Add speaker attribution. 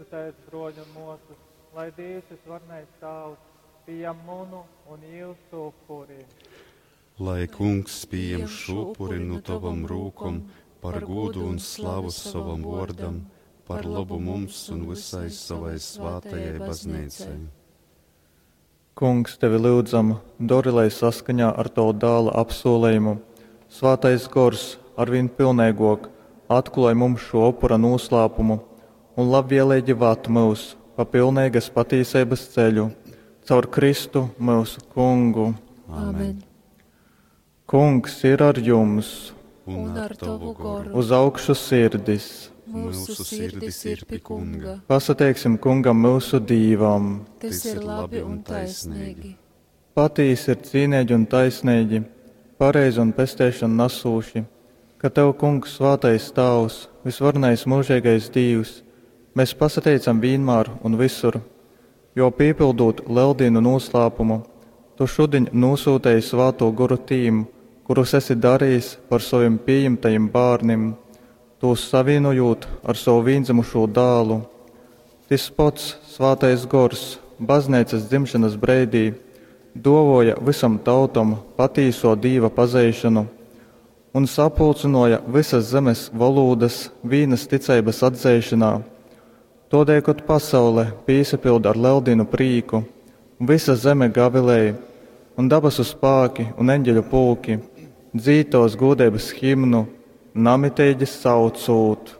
Speaker 1: Lūdzitēs, bruoļi un muosys, lai Dīvs Vysvarenais Tāvs pījam munu un jiusu upuri.
Speaker 2: Lai Kungs pījam šo upuri nu tavam rūkom par gūdu un slavu sovam vōrdam, par lobu mums un vysai sovai svātajai Bazneicai.
Speaker 3: Kungs, tevi lyudzam, dori, lai saskaņā ar tovu Dāla apsūlejumu Svātais Gors arvīn pilneigōk atklōj mums šō upura nūslāpumu un labvieleigi vad myus pa pilneigas patīseibas ceļu. Caur Kristu myusu Kungu.
Speaker 2: Amen.
Speaker 3: Kungs ir ar jums!
Speaker 2: Un ar tovu goru.
Speaker 3: Uz augšu sirdis!
Speaker 4: Mūsu sirdis ir pi Kunga.
Speaker 3: Pasateiksim Kungam myusu Dīvam!
Speaker 4: Tas ir labi un taisnīgi.
Speaker 3: Patīsi ir cīneigi un taisneigi, pareizi un pesteišanu nasūši, ka Tev, Kungs, svātais Tāvs, visvarenais mūžīgais Dīvs, mēs pasateicam vienmēr un visur, jo pīpildot Lieldienu noslēpumu, Tu šudiņ nosūtīji Svāto Goru tīm, kurus esi darījis par saviem pieņemtajiem bērniem, tos savienojot ar savu vienzimušo dēlu. Tis pats Svātais Gors baznīcas dzimšanas breidī dovoja visam tautam patīso Dīva pazeišanu un sapulcināja visas zemes valodas vīnas ticeibas atzeišanā. Todēļ, kad pasaule pīsapilda ar Lieldienu prīku, visa zeme gavilēja, un dabasu spāki un eņģeļu pulki dzītos gūdeibas himnu, namiteigi saucūt.